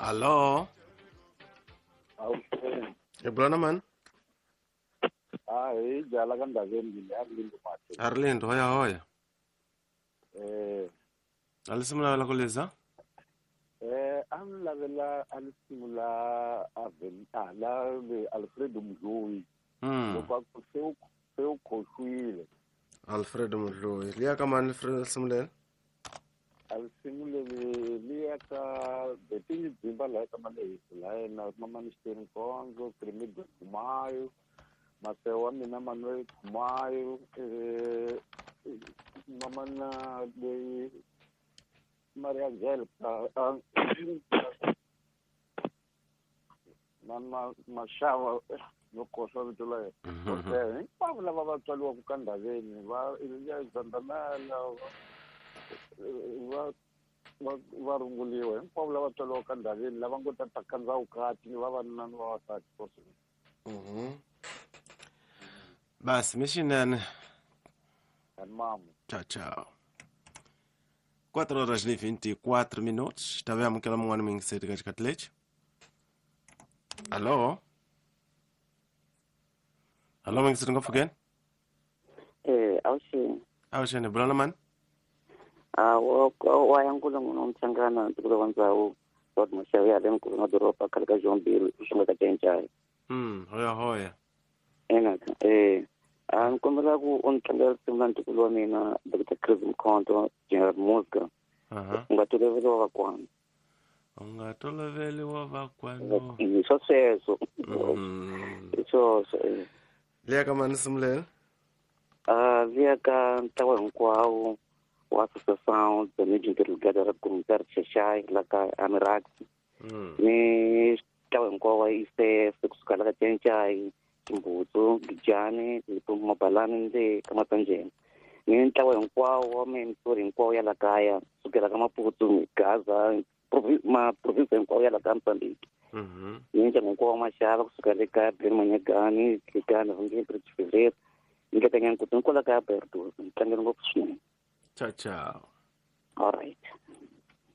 Alô? Hi bula na mani? A hi jala ka Ndaveni le Arlindo Mate. Arlindo, hoya hoya. A li simula ku liza? A ni lavela a ni simula a la Alfredo Mdloyi. Loko a ku se u khohlwile. Alfredo Mdloyi. Liya ka mani Alfredo simulela? A li simuleli liya ka Betini Dzimba laha ka Malehisi laha yena Mamani Xiteri Nkondzo, Krimido Khumayo, Maseo wa mina Manuel Khumayo, mamana leyi Maria Angelica na Maxava no kohlwa vito la yena. Okay, hinkwavo lava va tswariwaka ka Ndaveni va ya Zandamela va runguliwa hinkwavo lava tswariwaka ka Ndaveni lava ngo ta ta kandza vukati ni vavanuna ni vavasati. Basi mixinene. Mamo. Tchau, tchau. 4 horas e 24 minutos. Tá vendo que ela não é cedo que leite? Alô? Alô, mãe, você não consegue? Awuxini. Awuxini, bula mani? Ah, wa yankulu munhu mchangana ndikulo wa ndzawu wa maxavi ya le mkulu na doroba khale ka Jombili u xonga ka Cencai. Hoya hoya. Ena a ni kombela ku u ni tlangela risimu la ntukulu wa mina Dr. Chris Mkhonto General Muska. U nga toloveli wa vakwanu. U nga toloveli wa vakwanu. Hi swa sweswo. Hi swoswo. Liya ka mani simulela? Liya ka ntlawa hinkwawo wa Associação de Mídia Interligada da Comunidade Xexai la ka Amirax. Ni ntlawa hinkwawo wa ICF kusuka la ka Cencai, Chimbutsu, Gijani, Limpopo Mabalani le ka Matsanjeni. Ni ntlawa hinkwawo wa mimsuri hinkwawo ya la kaya kusukela ka Maputo, Gaza, maprovinsi hinkwawo ya la ka Mozambique. Ni ndyangu hinkwawo wa Maxava kusuka le ka Ben Manyagani, Gigani, Vungeni, Bridge Fevereiro, ni le ka Nyankutu, ni kwala ka Bertus. Ni tlangela ngopfu swinene. Tchau, tchau. All right.